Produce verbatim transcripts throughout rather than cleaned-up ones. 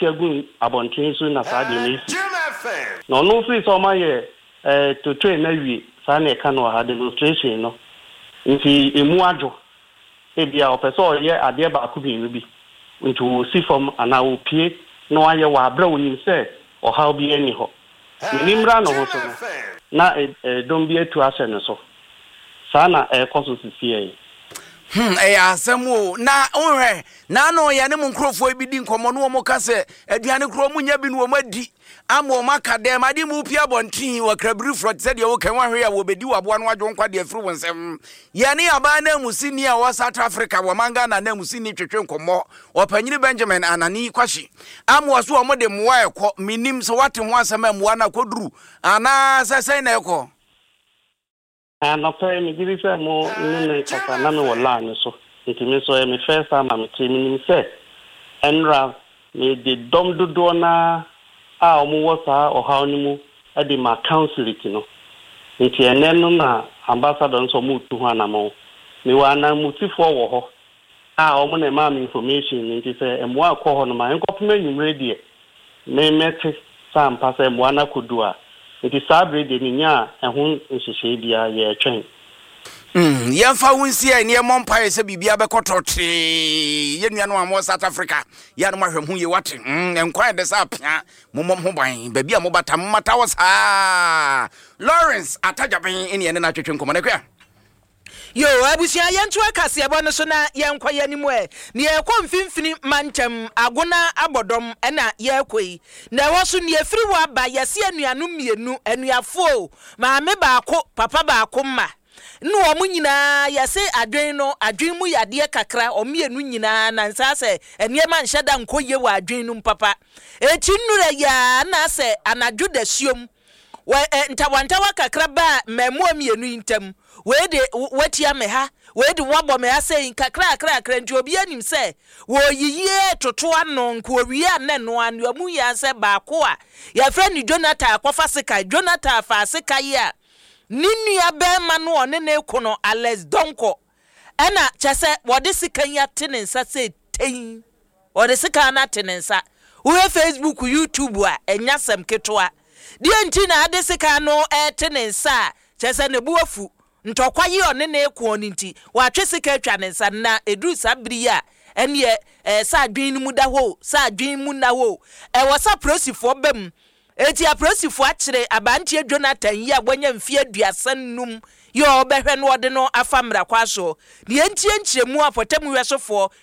ate agu abɔnten so na saa deɛ no esi. Na ɔno firi sɛ ɔmayɛ ɛɛ totoe no awie, saa na ɛka no wɔ ha, demonstration no nti emu adwo. Ebi a ɔpɛ sɛ ɔyɛ adeɛ baako mmienu bi nti wɔsi fam anaa wɔpie na wayɛ wɔ aberɛ a onim sɛ ɔhaw bi ani hɔ. N'ani mmra ne ho so no na ɛdɔm bi atu ahyɛ ne so. Saa na ɛrekɔ so sisi yi. Hmm, ɛyɛ asɛm o. Na wohwɛ naano yɛne mo nkurɔfoɔ bi di nkɔmmɔ no, wɔn ka sɛ aduane korɔ ɔmo nya bi no wɔn adi ama wɔn aka dɛm ade mu pia abɔnten wɔ krabiri te sɛ deɛ wɔka wɔahwɛ a wɔbɛdi wɔ aboa no adwo nkwa deɛ afiri wɔn nsɛm. Yɛne abaa no amusini a ɔwɔ South Africa wɔ man Ghana na amusini twetwe nkɔmmɔ, ɔpanyini Benjamin Anani Kwahye ama wɔ so wɔn de mmoa ɛkɔ. Menim sɛ wate ho asɛm a mmoa no akɔduru anaa sɛ sɛn na ɛkɔ? Anɔpɛ yi megye di sɛ mo ne me kasa na mewɔ line so, nti me nso ɛyɛ me first time a mete. Menim sɛ ɛnra mede dɔm dodoɔ naa a wɔwɔ saa ɔhaw no mu de ma consulate no, nti ɛnɛ no na ambassador nso ɔmo tu ho anammɔn. Mewɔ ananmusifoɔ wɔ hɔ a ɔmo na ɛmaa me information no, nti sɛ mmoa akɔ hɔ no ma nkɔpem anwummerɛ deɛ me mɛte sɛ ampa sɛ mmoa no akɔdu a. Nti saa bere deɛ menya a ɛho nhyehyɛe biara, yɛretwɛn. Mm, yɛmfa wo nsi a ɛne ɛmmɔ mpaeɛ sɛ biribia bɛkɔ tɔtee. Yɛn nuanom a mowɔ South Africa, yɛ a no mahwɛ ho yie, wate? mm, nkwan ɛdɛ sɛ apea. Mommɔ ho ban baabi a mobata, momata wɔ saa. Lawrence Atagyaben ɛne ɛne no atwetwe nkɔmmɔ no akua. Yo, abusua, yɛnto akaseɛbɔ no so na yɛnkɔ yɛn anim ɛ. Na yɛkɔ Mfimfini Mantam, Agona Abɔdɔm ɛna yɛrekɔ yi. Na ɛhɔ so nea efiri hɔ aba, yɛsi anuanom mmienu, anuafoɔ o, maame baako, papa baako mma. Ne wɔn nyinaa yɛse adwen no, adwen mu yadeɛ kakra, wɔn mmienu nyinaa nansa sɛ nneɛma nhyɛ da nkɔ yie wɔ adwen no mu papa. Eti nnura yaa na sɛ anadwo da suom wɔ ɛ ntawantawa kakra baa mmaamua mmienu yi ntam. Wei de watia me ha, wei de wabɔ me ha sɛyi kakra kakra kakra, nti obi anim sɛ wɔyiyie toto ano nka owie a nne no ano mu yɛ sɛ baako a yɛfrɛ no Jonathan akɔfa sekan. Jonathan fa sekan yi a ne nua bɛrima no ɔne ne ko no, Alex Donko, ɛna kyɛ sɛ wɔde sekan yi ate ne nsa sɛ tɛn, wɔde sekan no ate ne nsa. Wohwɛ Facebook, YouTube a, ɛnya sɛm ketewa deɛ nti na ade sekan no ɛte ne nsa a kyɛ sɛ ne bo afu ntɔkwa yi ɔne ne ko no nti watwe sika atwa ne nsa. Na ɛduru saa bere yi a ɛneɛ ɛɛ sɛ adwene no mu da hɔ, sɛ adwene mu nna hɔ, ɛwɔ sɛ apolisifoɔ ba mu. Eti apolisifoɔ akyerɛ aberanteɛ Jonathan yi a wanya mfeɛ aduasa num yi a ɔbɛhwɛ no, ɔde no afa mmerakwa so. Deɛ ntie nkyerɛmu a pɔtɛmu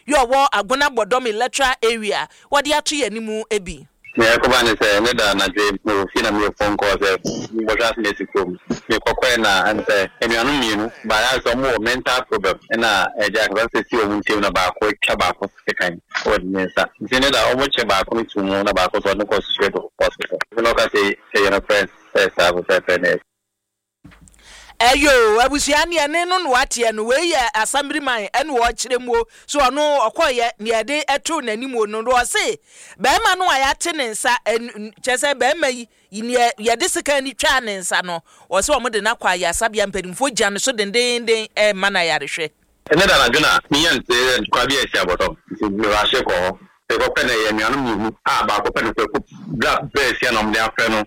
yi a ɔwɔ Agona Bɔdɔm Electoral Area wɔde ato yɛn anim bi. Nea ɛkɔba ne sɛ ne da anadwo mewɔ fie na meyɛ phone call sɛ mbɔhwɛ ase na esi kurom. Mekɔkɔɛ na ɛne sɛ anuanom mmienu baayɛ sɛ ɔmo wɔ mental problem, ɛna ɛgya akasa sɛ si ɔmo ntɛm na baako atwa baako sekan wɔ ne nsa, nti ne da ɔmo kyɛ baako no to mu na baako so ɔde no kɔ straight to hospital, nti na ɔka sɛ ɛyɛ no friend sɛ saa pɛpɛɛpɛ na Ɛyo, abusua, neɛ ne no no wateɛ no, wei yɛ assemblyman ɛne wɔkyerɛ mu o. So ɔno ɔkɔyɛ neɛ ɛde ɛto n'anim o no, ɔse bɛrima no a yɛate ne nsa, kyerɛ sɛ bɛrima yi neɛ yɛde sika ni twaa ne nsa no, ɔsɛ wɔn de n'akɔ ayasabea, mpanimfoɔ gya no so dendenden ɛɛma no ayarehwɛ. Ɛnɛ da anadwo na menya nte sɛ ntɔkwa bi a asi Abɔdɔm, nti merahye kɔ hɔ. Mekɔkɔ na ɛyɛ anuanom mmienu a baako pɛ no kwaku bra bɛɛ sia na ɔmde afrɛ no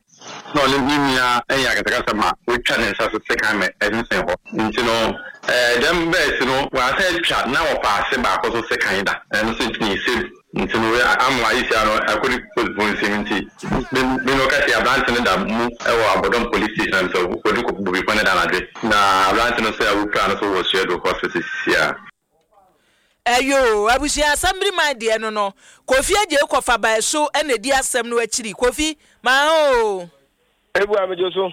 na ɔne ne nua ɛyɛ akasakasa ma wɔatwa ne nsa so sekan ma ɛsensɛn hɔ. Nti no ɛɛ dɛm bɛɛsi no wɔasɛ atwa na wɔfa ase baako so sekan da ɛno so ntumi save, nti no ama ayisia no akɔdi polisifoɔ nsɛm. Nti me no kɛse aberante no da mu ɛwɔ Abɔdɔm Police Station sɛ wɔde kɔ bobifo no da anadwe na aberante no sɛ awopira no so wɔ Suado Hospital sisi a. Ɛyo, abusua, assemblyman deɛ no no Kofi Agye kɔfa bae so ɛna di asɛm no akyiri. Kofi maa o. Ebu amegye so.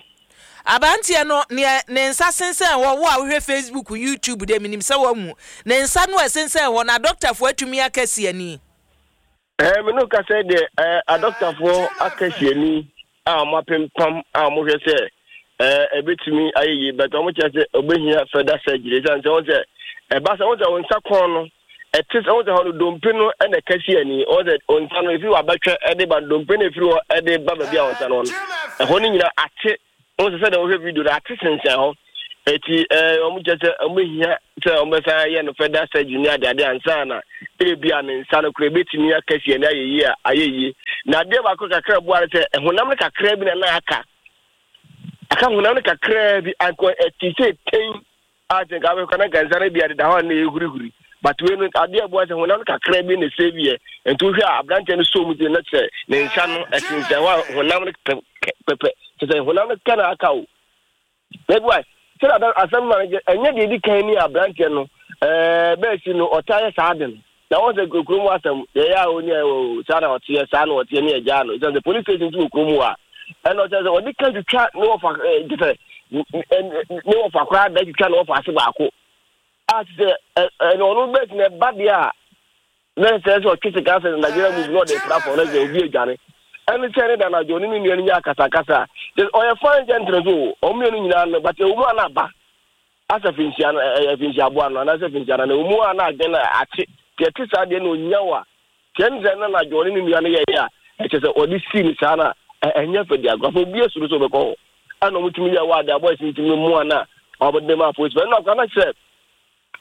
Aberanteɛ no neɛ ne nsa sensɛn hɔ, wo a wohwɛ Facebook, YouTube deɛ, menim sɛ wahu ne nsa no a ɛsensɛn hɔ na adɔktafoɔ atumi aka si ani. Ɛɛ me no kasa deɛ, ɛɛ adɔktafoɔ aka si ani a wɔn apempam a wɔhwɛ sɛ ɛɛ ɛbɛtumi ayɛ yie, but wɔn kyerɛ sɛ ɔbɛhia further surgery, ɛsiane sɛ wɔn sɛ ɛba sɛ wɔn sɛ wɔn nsa kɔn no ɛte sɛ wɔn sɛ hɔ no dompe no ɛna ɛka si ani. Wɔn sɛ wɔn nsa no efi wɔ abɛtwɛ ɛde ba dompe no efiri hɔ ɛde ba baabi a wɔn nsa no no, ɛhɔ no nyinaa ate. Wɔn sɛ sɛdeɛ wɔhwɛ video no ate sensɛn hɔ. Eti eh ɔmo kyɛ sɛ ɔmo hia sɛ ɔmo bɛsan yɛ no further surgery ne adeade ansa na ebi a ne nsa no kora ebetumi akɛseɛ ne ayɛ yie a ayɛ yie. Na adeɛ baako kakra boa no sɛ ɛhonam no kakra bi na na aka aka honam no kakra bi anka ɛte sɛ ten a sɛ nka abɛkɔ na nka nsa no bi adeda hɔ a na ɛhurihuri, but wei no adeɛ boa sɛ honam no kakra bi na ɛsɛ bi yɛ. Nti wohwɛ a, aberanteɛ no so mu ti na kyerɛ ne nsa no ɛsensɛn hɔ a honam no pɛpɛ kyɛ sɛ honam no kɛ na aka o. Na bi wa sɛ asɛm ma no ɛnyɛ deɛ ɛdi kan ni. Aberanteɛ no ɛɛ bɛɛsi no ɔtaa yɛ saa de no na wɔn sɛ kurom asɛm yɛyɛ a oni ɛwɔ saa na ɔteɛ, saa na ɔteɛ ne ɛgya no ɛsɛ sɛ police station ti wɔ kurom hɔ a ɛna ɔkyerɛ sɛ ɔde ka twitwa ne wɔfa ɛɛ kyɛ sɛ ne wɔfa koraa da twitwa ne wɔfa ase baako a sɛ ɛ ɛna ɔno bɛɛsi na ɛba deɛ a na sɛ sɛ ɔtwe sika sɛ Nigeria move na ɔde pra fɔ na sɛ obi adwane ɛne sɛ ne da na adwo ne ne nua no nya akasakasa. Ɔyɛ fine gentle so ɔmo mmienu nyinaa no, but ɛwɔ mu a na aba asɛ finhyia no ɛyɛ finhyia aboa no anaasɛ finhyia no na ɛwɔ mu a na adwene no ate deɛ ɛte saa deɛ na onya wɔ a tiɛ ne sɛ na anadwo ɔne ne nua no yɛyɛ a ɛkyɛ sɛ ɔde sii ne saa na ɛnyɛ fɛ di agorɔ afɔ obi asuro sɛ ɔbɛkɔ hɔ ɛna ɔmo tumi yɛ wɔ ade abɔ ɛsi ntumi mu a na ɔmo de ma apolisi ɛna akora na kyerɛ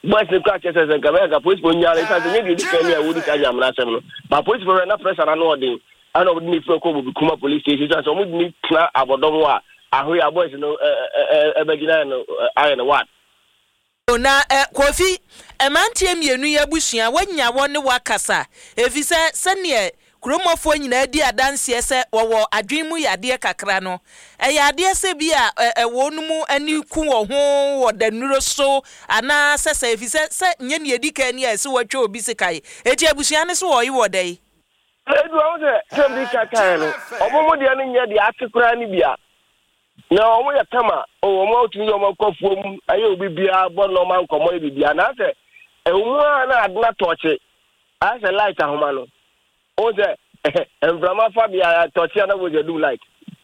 boys ne kora kyerɛ sɛ sɛ nka bɛyɛ nka polisi fo nyaa ɛsan sɛ nyɛ deɛ edi kan ni a wɔdi saa nyamena asɛm no ba polisi fo na pressure na no ɔden ɛna ɔmo de ne fira kɔ Bobi Kuma police station sɛ ɔmo de ne tena abɔdɔm hɔ a ahoyɛ a boys no ɛɛ ɛbɛgyina no ayɛ no wad. Na ɛ Kofi, mmeranteɛ mmienu yi abusua, woanya wɔ ne wakasa ɛfiri sɛ sɛneɛ kuromɔfoɔ nyinaa di adanseɛ sɛ wɔwɔ adwene mu yadeɛ kakra no, ɛyɛ adeɛ sɛ bi a ɛwɔ no mu ani ku wɔ ho wɔ danuro so anaa sɛ sɛ ɛfiri sɛ sɛ nyɛ ne ɛdi kan ni a ɛsɛ wɔatwa obi sekae, enti abusua no so wɔye wɔ dɛn? Edu ahụ sɛ sɛ bi kakae no, ɔmo mo deɛ no nyɛ deɛ ate koraa ne bia na ɔmo yɛ kama o. Ɔmo atumi yɛ ɔmo akɔ afuom ɛyɛ obi biara bɔ nɔɔma nkɔmɔ yɛ biribiara na asɛ ɛwɔ mu a na adena tɔɔkye ayɛ sɛ light ahoma no o sɛ mframa fa bea tɔɔkye a na wɔgya dum light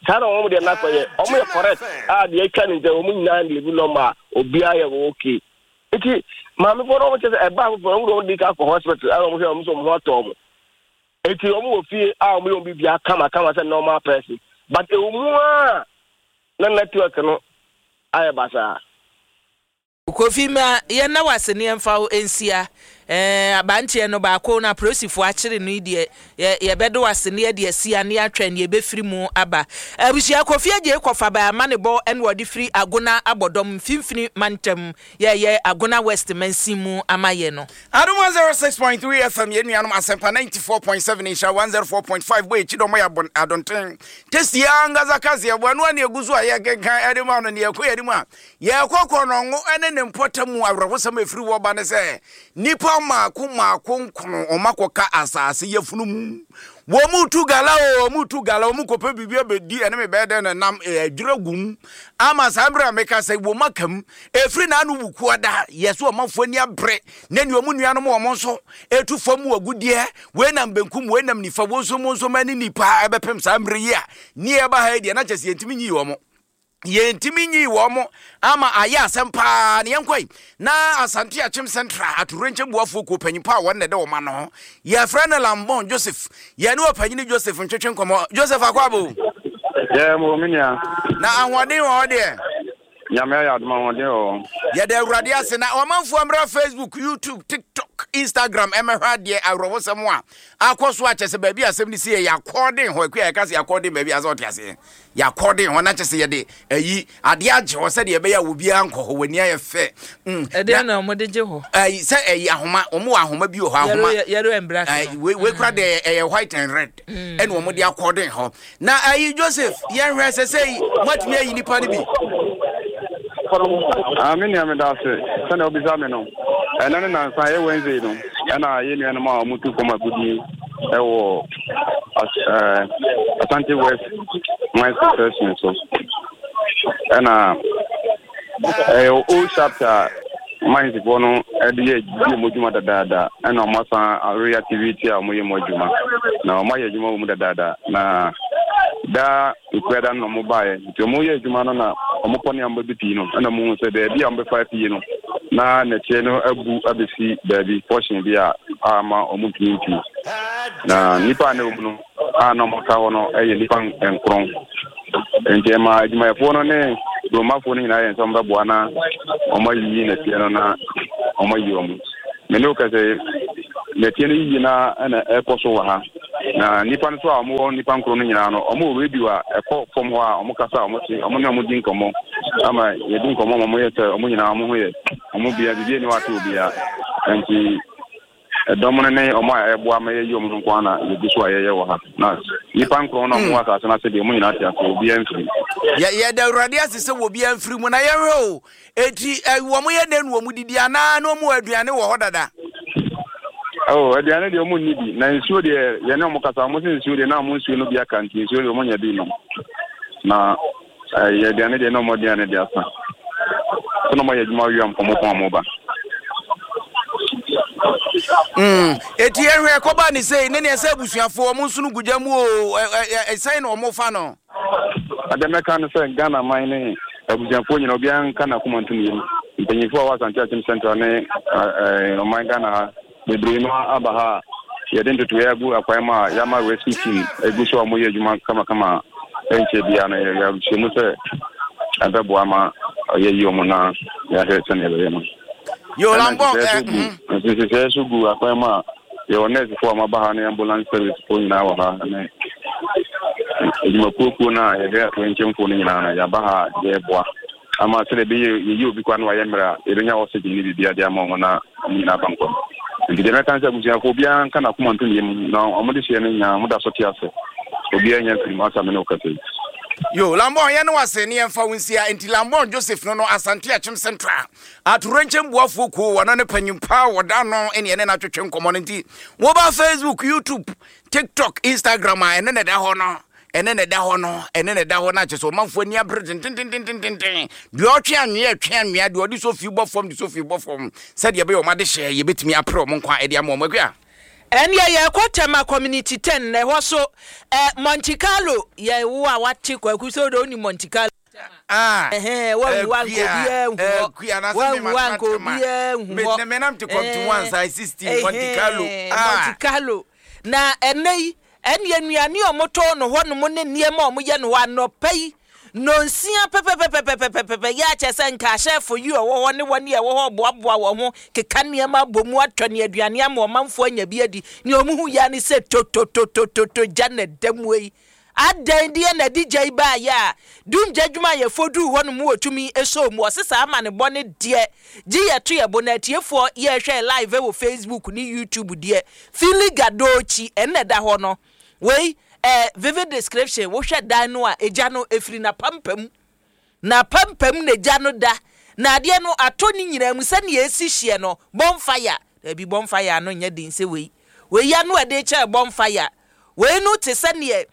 saa na ɔmo deɛ nakɔ yɛ. Ɔmo yɛ correct a deɛ atwa ne nkyɛn ɔmo nyinaa de ebi nɔɔma a obiara yɛ okay. Nti maamefoɔ no ɔmo kyɛ sɛ ɛbaa foforɔ ɔmo de ɔmo di ka akɔ hospital ɛna ɔmo hwɛ ɔmo sɛ ɔmo ho atɔ ɔmo, eti ɔmo wɔ fie a ɔmo yɛ ɔmo biribiara kama kama sɛ normal person, but ɛwɔ mu a na network no ayɛ basaa. Kofi, ma yɛnna wase ne yɛmfa wo nsia ɛɛ abanteɛ no baako na apolisifoɔ akyere no yi deɛ yɛ yɛbɛdo wase ne yɛde asia ne yɛatwɛn ne yɛbɛfiri mu aba. Abusua, Kofi Agye kɔfa baa ama ne bɔ ɛna wɔde firi Agona Abɔdɔm Mfimfini mantam yɛyɛ Agona West mansin mu ama yɛ no. Adom one oh six point three F M, yɛn nuanom Asɛmpa ninety-four point seven, Nhyira one oh four point five bɔ akyi dɔm yɛ adɔnten testi ankasa kaseɛ bɔ ɛno a ne ɛgu so a yɛkenkan ɛde ma no ne yɛkɔ yɛde mu a yɛkɔ Kɔnɔngo ɛne ne mpɔtam mu. Awerɛhosɛm a ɛfiri wɔ ba ne sɛ nnipa maako maako nkono ɔma kɔka asase yɛfunu mu. Wɔn mu tu gala o, wɔn mu tu gala, wɔn mu kɔpɛ biribi abɛdi ɛne me bɛyɛ dɛn na nam adwira gum ama saa mmerɛ a meka sɛ wɔn aka mu ɛfiri n'ano wukuo da yɛ so. Ɔmanfoɔ ani abere na ne wɔn nuanom wɔn nso ɛtu fam wɔ agudeɛ wei nam benkum, wei nam nifa, wɔn nso mo nso ma ne nipa ɛbɛpem saa mmerɛ yi a ne ɛba ha yi deɛ na kyɛ sɛ yɛntumi nyi wɔn, yɛntumi nyi wɔn ama ayɛ asɛm paa. Ne yɛnkɔ na Asante Akyem Central atorenkyɛ buafoɔ kuo panyin pa a wɔn na ɛde wɔn ano ho yɛfrɛ no Lambon Joseph. Yɛne ɔpanyini Joseph ntwetwe nkɔmmɔ. Joseph, akɔ abo. Yɛ mo me nua. Na ahoɔden wɔ hɔ deɛ? Nyame ayɛ adom, ahoɔden wɔ hɔ. Yɛde Awurade ase. Na ɔmanfoɔ mmra Facebook, YouTube, TikTok, Instagram ɛmɛhwɛ adeɛ awerɛhosɛm a akɔ so akyɛ sɛ baabi asɛm no si yɛ yɛakɔɔden hɔ akua yɛka sɛ yɛakɔɔden baabi a sɛ ɔte aseɛ yɛakɔɔden hɔ na kyɛ sɛ yɛde ayi adeɛ agye hɔ sɛdeɛ ɛbɛyɛ a obiara nkɔ hɔ w'ani ayɛ fɛ. Mm, ɛdeɛ na ɔmode gye hɔ? Ayi sɛ ɛyi ahoma, wɔn wɔ ahoma bi wɔ hɔ, ahoma yellow and black. Ayi wei wei kura deɛ ɛyɛ white and red ɛna wɔn de akɔɔden hɔ. Na ayi Joseph, yɛn hwɛ sɛ sɛ yi moatumi ayi nipa no bi? Ah, me nua, meda ase sɛnea wobisa me no. Ɛnɛ ne nansa ɛyɛ Wednesday no ɛna yɛ nuanom a wɔtu fam agudi ɛwɔ Asante West Mines Concession so ɛna ɛyɛ old shaft a minesfoɔ no ɛde yɛ di wɔn adwuma dadaada ɛna wɔn asan reactivate a wɔyɛ mu adwuma na wɔn ayɛ adwuma wɔ mu dadaada. Na daa nkuada no na wɔn baeɛ nti wɔn yɛ adwuma no na wɔn kɔ ne a wɔn bɛbi pii no ɛna wɔn hu sɛ baabi a wɔn bɛfa pii no na nɛteɛ no abu abɛsi baabi portion bi a ama wɔn ntumi mpii. Na nipa a na ɛwɔ mu no a na wɔn ka hɔ no yɛ nipa nkron, nti ɛma adwumayɛfoɔ no ne kuromafoɔ no nyinaa yɛ nsɛm bɛboa na Wɔn ayiyi nɛteɛ no na wɔn ayi wɔn. Me ne wo kasa yi, nɛteɛ no yiyi na ɛna ɛkɔ so wɔ ha. Na nnipa no nso a wɔwɔ nnipa nkron no nyinaa no, wɔwɔ radio a ɛkɔ fam hɔ a wɔkasa a wɔte, wɔn ne wɔn di nkɔmmɔ ama yɛdi nkɔmmɔ ma wɔyɛ sɛ wɔn nyinaa wɔn ho yɛ, wɔn bia biribi ani wate obiara. Nti ɛdɔm no ne wɔn a ɛboa ma yɛyi wɔn no nko ara na yɛgu so a yɛyɛ wɔ ha. Na nnipa nkron no a wɔwɔ asase no ase deɛ, wɔn nyinaa te ase, obiara mfiri mu. Yɛ yɛda Awurade ase sɛ obiara mfiri mu. Na yɛhwɛ o, eti ɛ wɔn yɛ dɛn na wɔn didi anaa na wɔn wɔ aduane wɔ hɔ dada? Oh, aduane deɛ wɔn nni bi. Na nsuo deɛ yɛne wɔn kasa, wɔn sɛ nsuo deɛ na wɔn nsuo no bi aka nti nsuo deɛ wɔn nya bi nom. Na ɛyɛ aduane deɛ na wɔn aduane deɛ asa. Sɛ na wɔn ayɛ adwuma awia mpɔmɔ pɔn wɔn ba. Mm, eti yɛhwɛ kɔba ne sei ne neɛ sɛ abusuafoɔ wɔn nso no gu gya mu o, ɛsɛn na wɔn fa no. Adeɛ mɛka no sɛ Ghana man ne abusuafoɔ nyinaa obiara nka n'akoma ntom yam. Mpanyinfoɔ a wɔwɔ Asante Akyem Central ne ɔman Ghana ha bebree no aba ha a yɛde ntotoeɛ agu akwan mu a yɛama rescue team egu so a wɔyɛ adwuma kamakama a ɛnkyɛ biara no yɛahyɛ mu sɛ ɛbɛboa ma yɛayi wɔn na yɛahwɛ sɛnea ɛbɛyɛ no. Yolambɔ nhyehyɛeɛ so gu akwan mu a yɛwɔ nɛɛsefoɔ a wɔaba ha ne ambulance service foɔ nyinaa wɔ ha ne adwumakuokuo no a yɛhwɛ atoyerɛnkyɛmfoɔ no nyinaa no yɛaba ha a yɛreboa ama sɛdeɛ ɛbɛyɛ yɛyi obi koraa na wayɛ mmerɛ a yɛbɛnya oxygen ne biribiara de ama wɔn na wɔn nyinaa aba nkwa mu. Nti deɛ mɛka ne sɛ abusuafoɔ obiara nka n'akoma nto ne yam na wɔn de hyeɛ no nyinaa wɔn da so te ase. Obiara nya mfiri mu asa me ne wo kasa yi. Yo, Lambon, yɛne wo ase ne yɛmfa wo nsia. Enti Lambon Joseph no no Asante Akyem Central Atorenkyɛm Boafoɔ Kuo, wɔno ne panyin paa wɔda ano ne ɛne no atwetwe nkɔmmɔ no. Nti woba Facebook, YouTube, TikTok, Instagram a ɛne na ɛda hɔ no, ɛne na ɛda hɔ no, ɛne na ɛda hɔ no akyɛ sɛ ɔmanfoɔ ani abere dendendendendenden. Deɛ ɔtwe anwea ɛtwe anwea, deɛ ɔde sofi bɔ fam de sofi bɔ fam, sɛdeɛ ɛbɛyɛ wɔn adehyɛ yɛbɛtumi apere wɔn nkwa ɛde ama wɔn. Akua. Ɛnneɛ yɛrekɔ Tema Community Ten na ɛhɔ so ɛ Monte Carlo yɛ wo a wate Kwaku sɛ wode wonim Monte Carlo. Ah, Ɛhɛn, wanwu anka obiara nhu hɔ. Akua, na sɛ me Wanwu anka matena Tema. obiara nhu Me hɔ. ne me nam te Compton one Ɛɛ, size sixteen Monte Carlo. ɛhɛn, Ah. Monte Carlo. Na ɛnnɛ yi, ɛnneɛ nnuane a wɔtɔn no hɔnom ne nneɛma a wɔyɛ no hɔ anɔpa yi, nnɔnsia pɛpɛpɛpɛpɛpɛpɛ yɛ a kyerɛ sɛ nka ahyɛɛfo yi a wɔwɔ hɔ ne wɔn a ɛwɔ hɔ reboaboa wɔn ho keka nneɛma abɔ mu atɔ ne aduane ama ɔmanfoɔ anya bi adi. Nea wɔhu yɛ ara ne sɛ totototototo gya na ɛda mu yi. Adɛn deɛ na ɛde gya yi baeɛ a dumgya adwumayɛfoɔ duu hɔ nom wɔtumi sɔɔ mu? Wɔse saa amanebɔ no deɛ gye yɛto yɛbo na atiefoɔ yɛhwɛ live wɔ Facebook ne YouTube deɛ Fili Gadochi ɛna ɛda hɔ no. Wei eh, vivid description, wohwɛ dan no a, egya no efiri n'apampam. N'apampam na egya no da. Na adeɛ no atɔ ne nyinaa mu sɛnea esi hyeɛ no, bonfire. Dabi, bonfire ano nyɛ den sɛ wei. Wei ano a ɛde kyɛɛ bonfire. Wei no te sɛ neɛ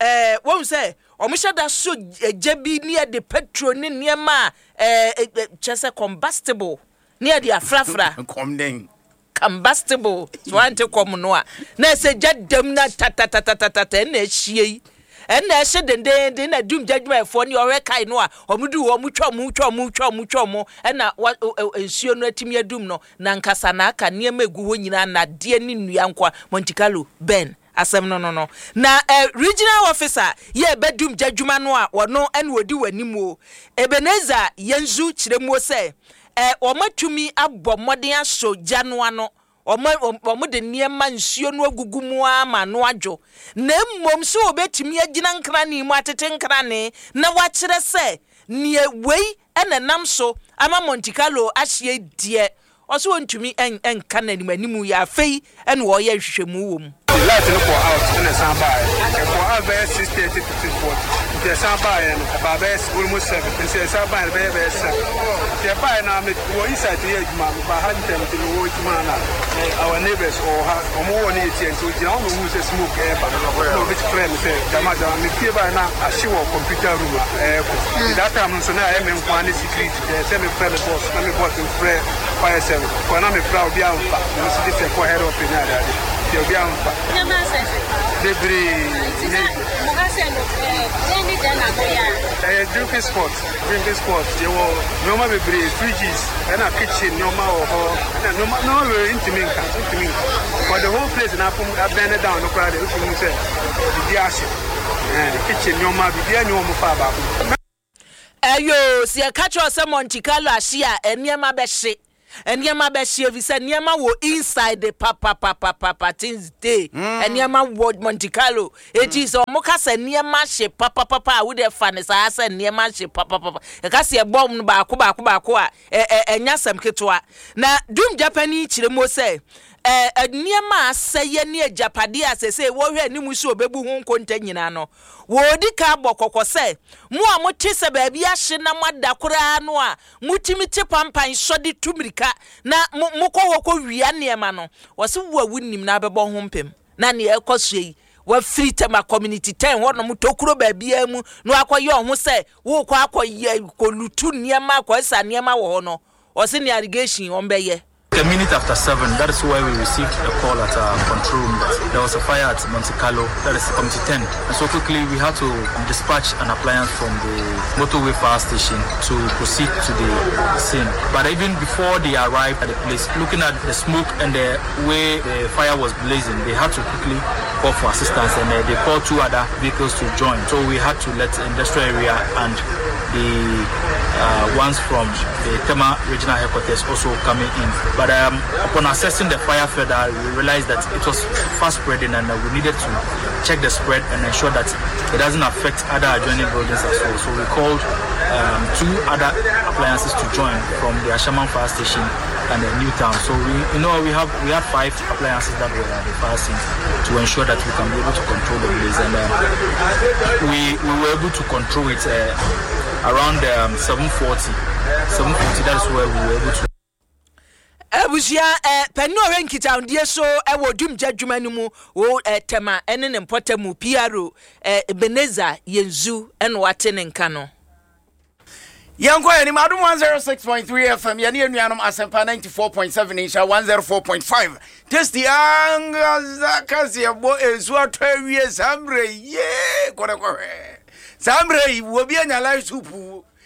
eh, wohu sɛ wɔhyɛ da sɔ egya bi ne yɛde petrol ne nneɛma a eh, eh, kyerɛ sɛ combustible ne yɛde afrafra. Kɔm dɛn? Combustible, so ante kɔm no a, na ɛsɛ gya dam na tatatatatata ɛna ɛhyie yi. Ɛna ɛhye dendeenden na dum gya adwumayɛfoɔ ne ɔhwɛ kae no a wɔn du hɔ wɔn twa wɔn twa wɔn twa wɔn twa wɔn ɛna wa nsuo no atumi adum no na nkasa na aka nneɛma egu hɔ nyinaa nnadeɛ ne nnua nkoa. Monte Carlo Ben asɛm no no no na eh, regional officer yɛ ɛbɛ dum gya adwuma no a wɔno ɛna ɔdi wɔ anim o Ebenezer Yenzu kyerɛ muo sɛ eh, wɔn atumi abɔ mmɔden asɔ gya no ano, wɔn, wɔn de nneɛma nsuo no agugu mu ara ma ano adwo, na mmom sɛ wɔbɛtumi agyina nkrane mu atete nkrane na wɔakyerɛ sɛ neɛ wei ɛna ɛnam so ama Monte Carlo ahyeɛ deɛ, ɔsɛ wɔntumi nka no anim anim yɛ afei ɛna wɔyɛ nhwehwɛmu wɔ mu. Light no kɔ out ɛna ɛsan baeɛ. Ɛkɔ out bɛyɛ six thirty to six forty. Nti ɛsan baeɛ no ɛbaa bɛyɛ almost seven. Nti ɛsan baeɛ no bɛyɛ bɛyɛ seven. Nti ɛbaeɛ no me wɔ inside yɛ adwuma meba ha ntɛm nti mewɔ adwuma na our neighbors ɔwɔ ha ɔmo wɔ ne yɛ tia nti ogyina hɔ na ohuu sɛ smoke ɛɛba. Na obi frɛ me sɛ gyama gyama mepie baeɛ na ahye wɔ computer room a ɛɛkɔ. Nti that time no nso na ɛyɛ me nko ara ne security. Ɛyɛ sɛ mefrɛ me boss na me boss mfrɛ fire service. Kɔ na mefrɛ a obi amfa. Ɛno nso gye sɛ kɔ head office ne ade ade. Nti obi amfa. Bebree. Ɛyɛ drinking spot, drinking spot. Yɛwɔ nneɛma bebree, fridges, ɛna kitchen nneɛma wɔ hɔ. Ɛna nneɛma nneɛma bebree ntumi nka, ntumi nka. For the whole place na afom abɛn down no koraa de, wotumi hu sɛ biribi ahye. Ɛɛ kitchen nneɛma biribiara ni wɔn fa baako. Ɛyo, sɛ yɛka kyerɛ sɛ Monte Carlo ahye a, nneɛma bɛhye, nneɛma bɛhye, efi sɛ nneɛma wɔ inside papapapapa. Things dey, nneɛma wɔ Monte Carlo. Eti sɛ ɔmo ka sɛ nneɛma hye papapapa a, wode fa ne saa sɛ nneɛma hye papapapa. Ɛka sɛ ɛbɔ no baako baako baako a, ɛ ɛ ɛnya asɛm ketewa. Na dum Japan kyerɛ mu sɛ ɛɛ nneɛma a asɛyɛ ne agyapadeɛ a sɛsɛ wɔhwɛ anim so obebu ho nkonta nyinaa no, wɔdi ka bɔ kɔkɔ sɛ mo a mote sɛ baabi ahye na moada koraa no a, motumi te pampan sɔde tu mirika na mo mokɔ hɔ kɔ wia nneɛma no, wɔsi wo a wonim na abɛbɔ ho mpem na nea ɛkɔ so yi, wafiri Tema Community ten hɔnom tokuro baabiara mu na wakɔyɛ ɔho sɛ wokɔ akɔyɛ kɔlutu nneɛma, akɔsa nneɛma wɔ hɔ no, ɔsi ne allegation wɔn bɛyɛ. A minute after seven, that is where we received a call at our control room that there was a fire at Monte Carlo, that is Community ten. And so quickly we had to dispatch an appliance from the motorway fire station to proceed to the scene. But even before they arrived at the place, looking at the smoke and the way the fire was blazing, they had to quickly call for assistance, and uh, they called two other vehicles to join. So we had to let the industrial area and the uh, ones from the Tema regional headquarters also coming in. But um, upon assessing the fire further, we realized that it was fast spreading, and uh, we needed to check the spread and ensure that it doesn't affect other adjoining buildings as well. So we called um, two other appliances to join from the Ashaiman fire station and the New Town. So we, you know, we have we had five appliances that were at the fire scene to ensure that we can be able to control the blaze, and uh, we we were able to control it uh, around um, seven forty. seven forty, that is where we were able to. Abusua, ɛ panin a ɔhwɛ nkitahodie so ɛwɔ dumgya dwuma no mu wɔ ɛ Tɛma ɛne ne mpɔtam mu, P R O ɛ Ebenezer Yenzu, ɛna wate ne nka no. Yɛnkɔ anim. Adom one oh six point three F M, yɛne anuanom Asɛmpa ninety-four point seven, Nhyira one oh four point five. Tasty ankasa kaseɛbɔ. Ɛnsu atɔ awie saa mmerɛ yee kɔdɛkɔhwɛ. Saa mmerɛ yi wɔbi anya light soup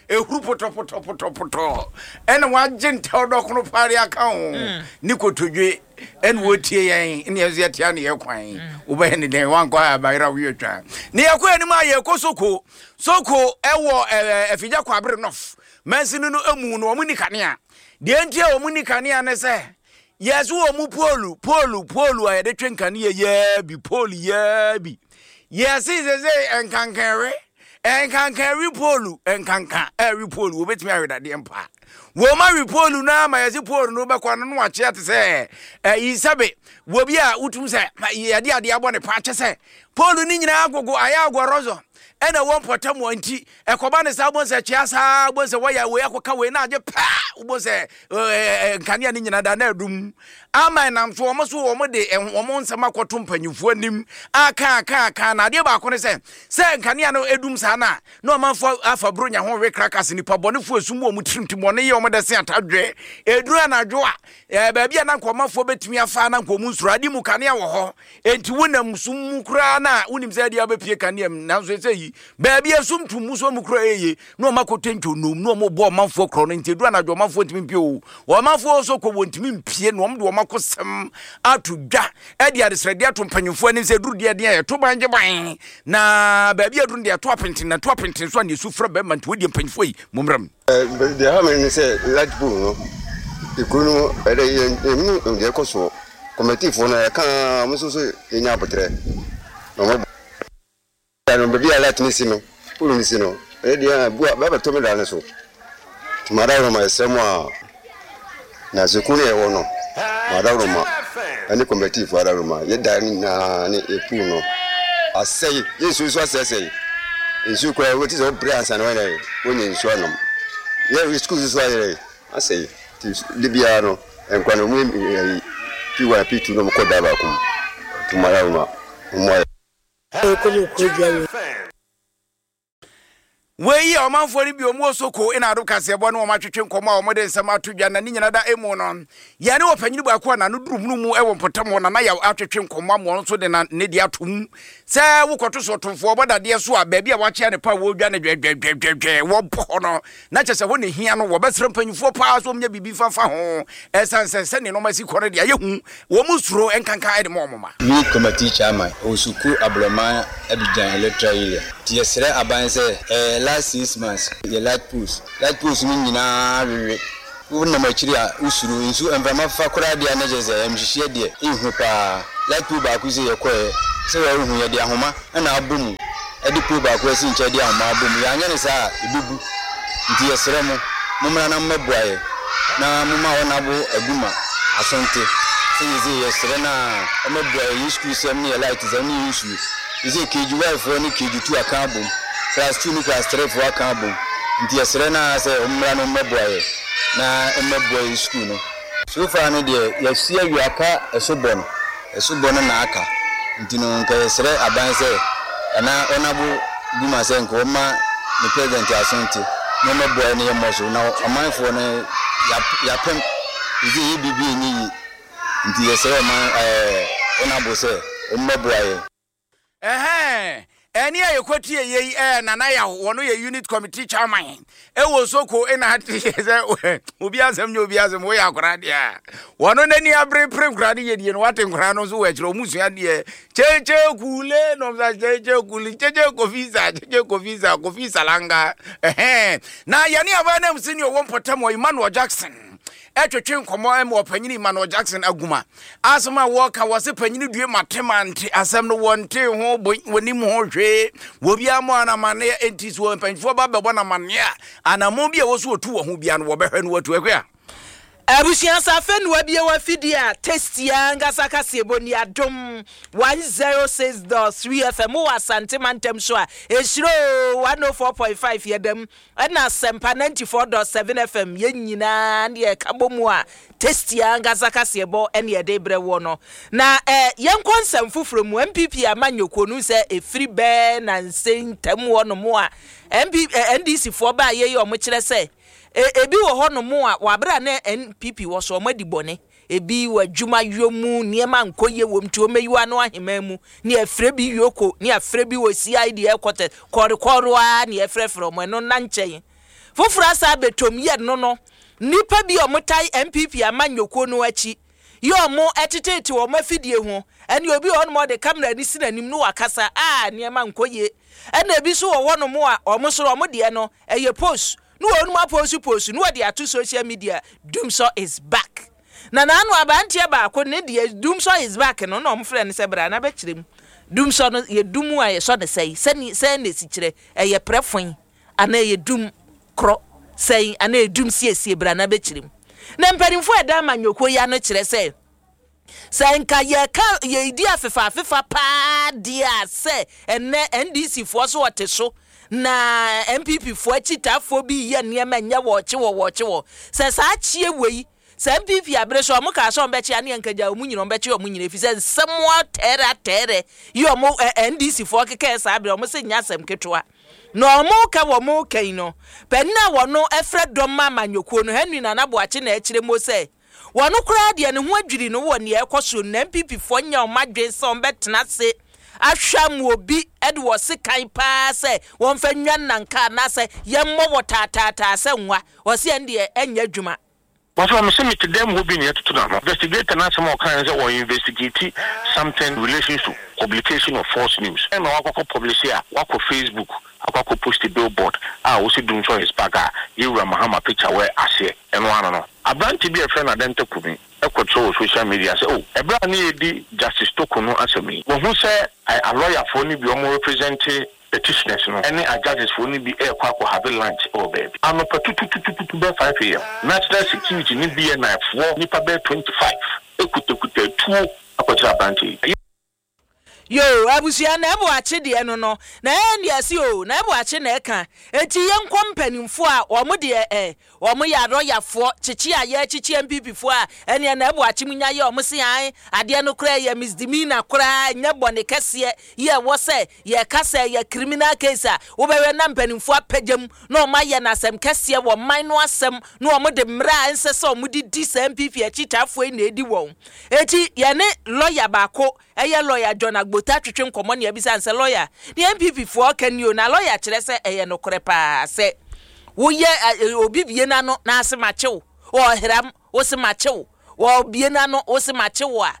ehuru pɔtɔpɔtɔpɔtɔpɔtɔ ɛna wagye ntɛw dɔkono paare aka ho ne kotodwe ɛna wɔtie yɛn, ne yɛn nso yɛtea ne yɛ kwan. Wobɛyɛ ne dɛn? Wankɔ a abayera woyɛ twa ne yɛkɔ anim a, yɛkɔ Soko. Soko ɛwɔ ɛɛ Afigya Kwabere North mansini no emu no, wɔn ni kanea. Deɛ nti a wɔn ni kanea ne sɛ yɛso wɔn mu pole pole pole a yɛde twe nkanea yɛɛ bi pole yɛɛ bi. Yɛsi sese nkankanwe nkankanwi pole, nkanka ɛwi pole, wɔbɛtumi awe dadeɛ mpa. Wɔn awi pole no ama yɛsi pole no bɛkɔ ano no wakyea te sɛ ɛyi sɛbe wɔbi a wotum sɛ yɛde adeɛ abɔ ne pa kyɛ sɛ pole no nyinaa agogo ayɛ agɔrɔzɔ ɛna wɔn mpɔtam wɔn nti ɛkɔba ne saa wobɔ sɛ kyea saa wobɔ sɛ wɔyɛ wei akɔka wei na agye paa wobɔ sɛ ɛɛ nkanea no nyinaa da na adum ama ɛnam so. Wɔn so wɔn de wɔn nsɛm akɔto mpanyinfoɔ anim aka aka aka. Na adeɛ baako ne sɛ sɛ nkanea no edum saa na na ɔmanfoɔ afa buronya ho we krakas nipa bɔnefoɔ esum wɔn tirim ti bɔne yɛ wɔn de se atadwe eduru anadwo a ɛɛ baabi a na nka ɔmanfoɔ bɛtumi afa na nka wɔn nsoro ade mu kanea wɔ hɔ. Enti wonam sum mu koraa na wonim sɛ ɛdeɛ wobɛpie kanea mu, nanso ɛsɛ yi baabi esum tum mu so mu koraa ɛyɛ na ɔma kɔtɛ ntwonom na ɔmo bɔ ɔmanfoɔ korɔ no. Nti eduru anadwo ɔmanfoɔ ntumi mpie o, ɔmanfoɔ nso kɔ wɔn ntumi mpie na ɔmo de ɔmo akɔsɛm ato dwa ɛde adesrɛdeɛ ato mpanyinfoɔ anim sɛ eduru deɛ deɛ yɛto ban gye ban na baabi aduru deɛ ɛto apenten na ɛto apenten so a ne esu frɛ bɛrima. Nti wɔdeɛ mpanyinfoɔ yi mo mmra mu. Deɛ ha me ne sɛ light pole no, ekuro no ɛdɛ yɛn yɛn deɛ ɛkɔ soɔ. Kɔmɛtifoɔ no yɛka ɔmo nso so yɛnya abotrɛ na ɔmo bɔ no baabi a light ne si no, pole ne si no, ɛyɛ deɛ bu a bɛbɛtɔ me da ne so. Tuma ma ɛsrɛ mu a na sukuu no yɛwɔ no ma ɛne kɔmɛtifoɔ adaworoma yɛda no nyinaa ne yɛ no asɛe, yɛ nsuo nso asɛesɛe. Nsuo koraa wɔti sɛ wɔbrɛ ansa na wɔyɛ wɔnya nsuo anom. Yɛ sukuu nso so ayɛ asɛe, nti de biara no nkwa no ɔmo yɛ P one, P two na ɔmo kɔ da baako mu. Tuma adaworoma ɔmo ayɛ. Ɛkɔ Wei yɛ ɔmanfoɔ no bi ɔmu wɔ Soko ɛna Ado kaseɛbɔ ne wɔn atwetwe nkɔmmɔ a wɔde nsɛm ato dwa. Na ne nyina da emu no, yɛne ɔpanyini baako a n'ano duru hunu mu ɛwɔ mpɔtam hɔ, Nana Yaw, atwetwe nkɔmmɔ ama ɔno nso de na ne de ato mu sɛ wokɔto so ɔtomfoɔ ɔbɔ dadeɛ so a, baabi a wakyea ne pa a wɔredwa ne dwɛdwɛdwɛdwɛ wɔbɔ hɔ no, na kyɛ sɛ hɔ ne hia no, wɔbɛsrɛ mpanyinfoɔ paa so wɔnyɛ biribi fafa ho, ɛsiane sɛ sɛne nneɛma si kɔ no deɛ ayɛ hu, wɔn mu suro nkanka ɛde ma wɔn ma. Youth Committee Chairman wɔ Sukuu Aborɔman Abidjan electoral area, nti yɛsrɛ aban sɛ ɛɛ last six months yɛ light post light post no nyinaa wewe. Wonam akyiri a wosuro nsu mframa fa koraa deɛ na kyerɛ sɛ ɛmhyehyeɛ deɛ ɛnhu paa. Light pole baako sɛ yɛkɔɛ sɛ wɔrehu yɛde ahoma ɛna abɔ mu, ɛde pole baako asi nkyɛn de ahoma abɔ mu. Yɛanyɛ no saa a ɛbɛbu, nti yɛsrɛ mo mommra na mmɛboa yɛ na momma ɔnabo aguma asonte sɛ yɛsɛ yɛsrɛ no a ɔmɛboa yɛ yɛ sukuu sɛm ne yɛ light sɛm ne yɛ nsuo. Yɛsɛ K G one foɔ ne K G two aka abom, class two ne class three foɔ aka abom, nti yɛsrɛ no a sɛ ɔmmra no mmɛboa yɛ na ɔmmɛboa yɛ sukuu no. So far no deɛ yɛasi awie aka ɛso bɔ no, ɛso bɔ no na aka, nti no nka yɛsrɛ aban sɛ anaa ɔnabo guma sɛ nka ɔma ne president asonte na ɔmmɛboa yɛ ne yɛ mmɔ so na ɔmanfoɔ no yɛapem ɛsɛ yɛ biribi ɛnyɛ yie, nti yɛsrɛ ɔman ɛɛ ɔnabo sɛ ɔmmɛboa yɛ. Ɛhɛn ɛne a yɛkɔtie yei ɛɛ Nana Yaw, wɔno yɛ unit committee chairman ɛwɔ Soko ɛna ate sɛ obi asɛm nyɛ obi asɛm, woyɛ akwaraa deɛ a wɔno n'ani abere pere nkoraa no yɛdie no, wate nkoraa no nso wɔ akyerɛ ɔmu sua deɛ kyekye kule nom sa kyekye kule kyekye kofisa kyekye kofisa kofi salanga. Ɛhɛn na yɛne aba nam sɛ ne ɔwɔ mpɔtam wɔ Emmanuel Jackson ɛtwetwe nkɔmmɔ ɛma ɔpanyini Emmanuel Jackson aguma asɛm a wɔka wɔ se panyini due matemante asɛm no wɔnte ho wɔnim ho hwee wɔbiara mmɔ anamanneɛ, enti so mpanyinfoɔ ba bɛbɔ namanneɛ a anammɔn bi a wɔ so wɔtu wɔ ho bia no wɔbɛhwɛ no wɔatu ɛhwɛ a. Abusua safe no abie wa fidie a tasty ankasa kaseɛbɔ ni Adom one oh six point three F M wɔ Asante Mantam so a ɛhyiro one oh four point five yɛdam ɛna Asempa ninety four point seven F M yɛn nyinaa ne yɛka bɔ mu a tasty ankasa kaseɛbɔ ɛne yɛde brɛ wɔ no. Na eh, yɛnkɔ nsɛm foforɔ mu. M P P amanyɔkuo no sɛ ɛfiri bɛɛ na nsɛntam wɔ no mu a M P, eh, N D C foɔ baa yɛyi ɔmo kyerɛ sɛ ebi wɔ hɔ no mu a wabra na N P P wɔ so ɔmo adi bɔne, ebi wɔ adwuma yɔ mu nneɛma nkɔ yie wɔ mu nti ɔmo ayi ano ahema mu ne afrɛ bi yoko ne afrɛ bi wɔ C I D headquarters kɔrekɔre a ne afrɛfrɛ ɔmo ɛno na nkyɛn foforɔ asa abɛtɔm yɛ no no nnipa bi a ɔmo tae N P P amanyɔkuo no akyi yɛ ɔmo ɛtetete ɔmo afidie ho ɛne obi wɔ hɔ nom ɔde kamera ne si n'anim no wakasa a nneɛma nkɔ yie, ɛna ebi nso wɔ hɔ nom a ɔmo soro ɔmo deɛ no ɛyɛ post no wɔn mu apost post no wɔde ato social media Dumsor is back. Na n'ano abanteɛ baako ne deɛ Dumsor is back no na ɔmo frɛ no sɛ bra na bɛkyerɛ mu Dumsor no yɛ dum a yɛsɔ ne sɛn sɛni sɛn na esi kyerɛ ɛyɛ prɛfoin anaa ɛyɛ dum korɔ sɛn anaa ɛyɛ dum siesie bra na bɛkyerɛ mu. Na mpanimfoɔ a ɛda amanyɔkuo yi ano kyerɛ sɛ sɛ nka yɛka yɛdi afefa afefa paa deɛ a sɛ ɛnɛ N D C foɔ so wɔte so na N P P foɔ akyitaafoɔ bi yɛ nneɛma nyɛ wɔɔkye wɔ wɔɔkye wɔ sɛ saa kyie wei sɛ N P P abere so ɔmo kaa sɛ ɔmo bɛkye ane nkagya ɔmo nyina ɔmo bɛkye ɔmo nyina efi sɛ nsɛm atɛɛrɛ atɛɛrɛ yi ɔmo N D C foɔ keka saa abere ɔmo sɛ nya asɛm ketewa na ɔmo ka wɔ mo kan no panin a wɔno ɛfrɛ dɔm amanyɔkuo no Henry Nana Boakye na ɛkyerɛ mo sɛ wɔno koraa deɛ ne ho adwiri no wɔ nea ɛkɔ so na N P P foɔ nya ɔmo adwene sɛ ɔmo bɛtena ase ahwɛ mu obi ɛde wɔ sekan paa sɛ wɔmfa nwa nanka anaasɛ yɛmmɔ wɔ taataataa sɛ nwa wɔsi ɛn deɛ ɛnyɛ adwuma. Wɔfrɛ me sɛ mete dɛm hɔ bi na yɛtoto n'ano. Investigator no asɛm a ɔkae sɛ wɔ investigate something in relation to publication of false news. Ɛna wakɔkɔ publish a wakɔ Facebook akɔkɔ post billboard a wosi Dumsor is back a yɛwura Mahama picture wɔ aseɛ ɛno ano no. Aberante bi a yɛfrɛ no Adenta Kumi ɛkɔtwerɛ wɔ social media sɛ oh ɛberɛ a ne yɛdi Justice Toko no asɛm yi wɔhu sɛ alɔyafoɔ no bi ɔmo represent petitioners no ɛne a judges foɔ no bi ɛrekɔ akɔ have lunch ɛwɔ baabi anɔpa tututututu bɛɛ five a m National Security ne B N I foɔ nipa bɛɛ twenty five ekutakuta tuo akɔkyerɛ aberante yi. Yo abusua na ɛbɔ akye deɛ no no na ɛyɛ nea si o na ɛbɔ akye na ɛka eti yɛn nkɔ mpanimfoɔ a wɔn deɛ ɛ wɔn yɛ arɔyafoɔ kyekye a yɛ kyekye M P P foɔ a ɛnea na ɛbɔ akye mu nya yɛ wɔn se an adeɛ no koraa yɛ misdemeanor koraa nyɛ bɔne kɛseɛ yɛ wɔ sɛ yɛ kasa yɛ criminal case a wobɛwɛ na mpanimfoɔ apagya mu na wɔn ayɛ n'asɛm kɛseɛ wɔ man no asɛm na wɔn de mmerɛ a ɛnsɛ sɛ wɔn de di sɛ M P P akyitaafoɔ yi na edi wɔn eti yɛne lɔya baako ɛyɛ lɔya John Agbota twetwe nkɔmɔ ne ebisa nsɛ lɔya ne M P P foɔ ka ni o na lɔya kyerɛ sɛ ɛyɛ nokorɛ paa sɛ woyɛ obi bie n'ano na ase makyew ɔhram wose makyew wɔ bie n'ano wose makyew a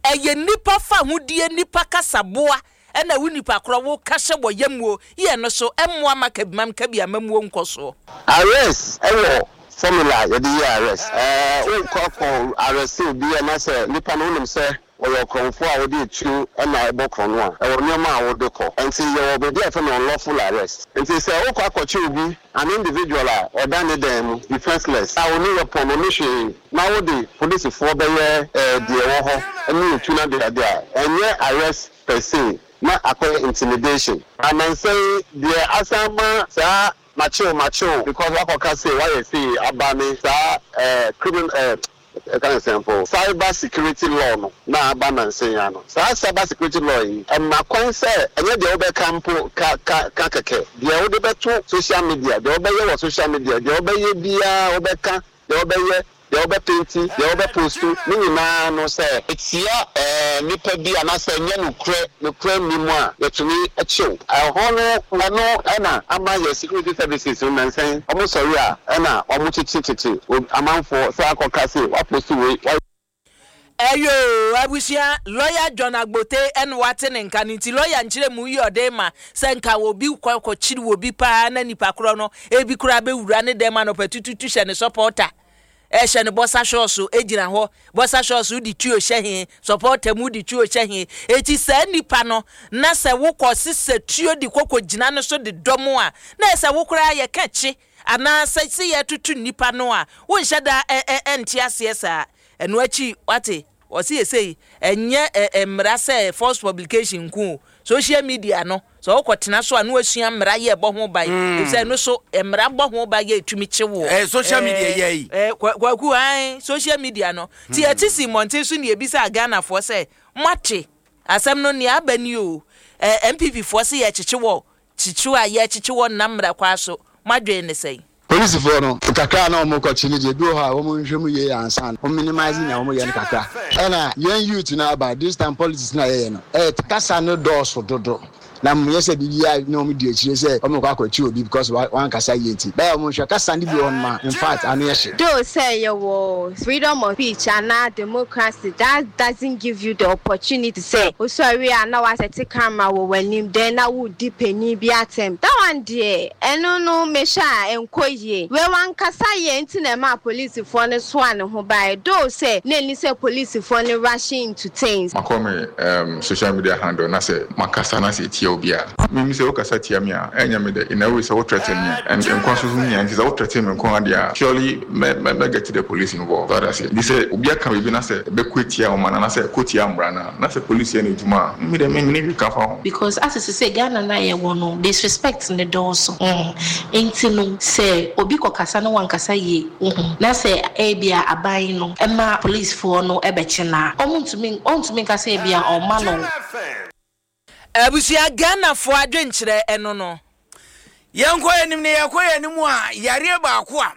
ɛyɛ nipa fa hodie nipa kasaboa Ɛna wo nipa korɔ wo ka hyɛ wɔ yamuo yɛ no so ɛmmoa ma kabimam kabi amamuo nkɔ soɔ. Arrest ɛwɔ formula yɛde yɛ arrest. Ɛɛ wokɔ kɔ arrest obi anaasɛ nipa no, wonim sɛ ɔyɛ ɔkorɔmfoɔ a wɔde etuo ɛna ɛbɔ korɔ no a, ɛwɔ nneɛma a wɔde kɔ. Nti yɛwɔ baabi a yɛfrɛ no unlawful arrest. Nti sɛ wokɔ akɔkye obi, an individual a ɔda ne dan mu, defenseless, a ɔne weapon, ɔne hwee, na wode polisifoɔ bɛyɛ ɛɛ deɛ ɛwɔ hɔ ɛne etu na deade a, ɛnyɛ arrest per se, na akɔyɛ intimidation. Anansɛn deɛ asan ma saa makyew makyew because wakɔka se wayɛ sei aba ne saa ɛɛ criminal ɛɛ ɛka ne sɛn po, cyber security law no na aba nansen ya no. Saa cyber security law yi ɛma kwan sɛ ɛnyɛ deɛ wobɛka mpo ka ka ka kɛkɛ, deɛ wode bɛto social media, deɛ wobɛyɛ wɔ social media, deɛ wobɛyɛ biara, wobɛka, deɛ wobɛyɛ, deɛ wobɛpenti, deɛ wobɛpost ne nyinaa no, sɛ etia ɛɛ nipa bi anaasɛ ɛnyɛ nokorɛ nokorɛ nni mu a, yɛtumi akyew ɛhɔ no. Ɛno ɛna ama yɛ security services no nansɛn ɔmo sɔre a, ɛna ɔmo kyekyekyekyɛ amanfoɔ sɛ akɔka se wapost wei wa. Ɛyo, abusua, Lawyer John Agbote ɛna wate ne nka no. Nti lawyer nkyerɛ mu yi ɔde ma sɛ nka obi kɔ kɔkyiri wɔ bi paa na nipa korɔ no ebi koraa bɛwura ne dɛm anɔpɛ tututu hyɛ ne supporter, ɛhyɛ ne boxer shorts, egyina hɔ boxer shorts de tuo hyɛ he, supporter mu de tuo hyɛ he. Eti saa nipa no na sɛ wokɔ sisɛ tuo de kɔkɔ gyina no so de dɔm a, na ɛsɛ wo koraa yɛ ka kye anaasɛ sɛ yɛtutu nipa no a, wonhyɛ da ɛ ɛ ɛnte aseɛ saa. Ɛno akyi wate wɔsi yɛ ɛnyɛ ɛ mmara sɛ false publication nko o, social media no sɛ wokɔ tena so a na wasua mmara yɛ ɛbɔ ho ban, efisɛ ɛno so mmara bɔ ho ban yɛ etumi kye wɔ. Ɛɛ social media yɛ yi. Ɛɛ Kwaku, ayi social media no ti yɛte si mmɔnten so ne ebisa Ghanafoɔ sɛ moate asɛm no nea aba ni o, ɛɛ N P P foɔ sɛ yɛkyekye wɔ kyekye a yɛkyekye wɔ nam mmara kwa so, moadwene ne sɛn? Polisifoɔ no kakra na wɔn kɔkye no deɛ, bi wɔ hɔ a wɔn nhwɛ mu yie ansa wɔn minimize nea wɔn yɛ no kakra. Ɛna yɛn youth no aba this time, politics na yɛyɛ no, ɛyɛ kasa no dɔɔso dodo na mo yɛ sɛ biribi a na wɔn di akyire sɛ wɔn kɔ akɔkye obi because wɔn ankasa yie, nti bɛyɛ wɔn nhwɛ kasa no bi wɔ hɔ nom a, in fact, ano yɛ hye. Though sɛ yɛwɔ freedom of speech anaa democracy, that doesn't give you the opportunity sɛ osɔre a na wasɛte camera wɔ w'anim, then na wodi panyin bi atɛm. That one deɛ, ɛno no mehwɛ a ɛnkɔ yie. Wei wankasa yɛ nti na ɛma polisifoɔ no soa ne ho baeɛ, though sɛ na ɛni sɛ polisifoɔ no rushing into things. Makɔ me um, social media handle na sɛ makasa na sɛ ɛtia obi a, mimi sɛ wokasa tia me a, ɛnyɛ me dɛ. In a way sɛ wo threaten me a, and nkwa so so hia, nti sɛ wo threaten me nko adeɛ a, surely mɛ mɛ mɛ get the police involved. So that's it. Nti sɛ obi aka biribi na sɛ ɛbɛkɔ etia ɔman anaasɛ ɛkɔ tia mmara no a, na sɛ police yɛ n'adwuma a, mi dɛ mi mi ne hwee ka fa ho. Because as sɛ sɛ Ghana na yɛwɔ no, disrespect ne dɔɔso mm. Nti no sɛ obi kɔkasa na wankasa yie wohu na sɛ ebia aban no ɛma policefoɔ no ɛbɛkye na ɔmo ntumi ɔntumi nka sɛ ebia ɔma no. Abusua, Ghanafoɔ adwenkyerɛ ɛno no. Yɛnkɔ anim ne yɛkɔ yɛn anim a, yareɛ baako a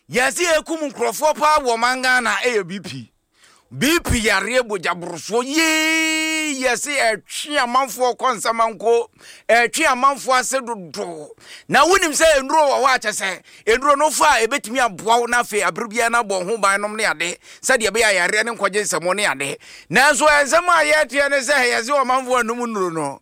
yɛse yɛkum nkurɔfoɔ paa wɔ man Ghana ɛyɛ B P. B P yareɛ, bogyaborosoɔ yee, yɛse ɛtwe amanfoɔ kɔ nsamanko, ɛtwe amanfoɔ ase dodo. Na wonim sɛ nnuro wɔ hɔ a kyɛ sɛ nnuro no fa a, ɛbɛtumi aboa wo na afei abere biara no abɔ ho ban nom ne ade sɛdeɛ ɛbɛyɛ a yareɛ ne nkɔgye nsɛmɔ ne ade. Nanso ɛnsɛm a yɛteɛ ne sɛ yɛse ɔmanfoɔ anum nnuro no,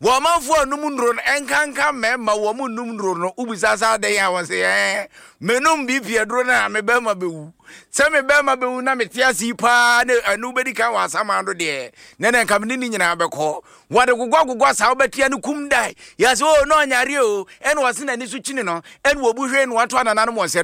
wɔn amanfoɔ anum nnuro no, ɛnkanka mmarima wɔn mu num nnuro no. Wobisa sa adɛn a, wɔn sɛ ɛɛ menum B P aduro no a, me bɛrima bɛwu. Sɛ me bɛrima bɛwu na mete ase yi paa ne ɛno bɛdi kan wɔ asaman do deɛ, ne ne nka mene ne nyinaa bɛkɔ. Wɔde gogɔ gogɔ saa wobɛtia no kum dae. Yɛsɛ o na ɔnyare o, ɛna wɔse n'ani so kyini no, ɛna wɔbu hwee no wɔato anananom wɔn sɛ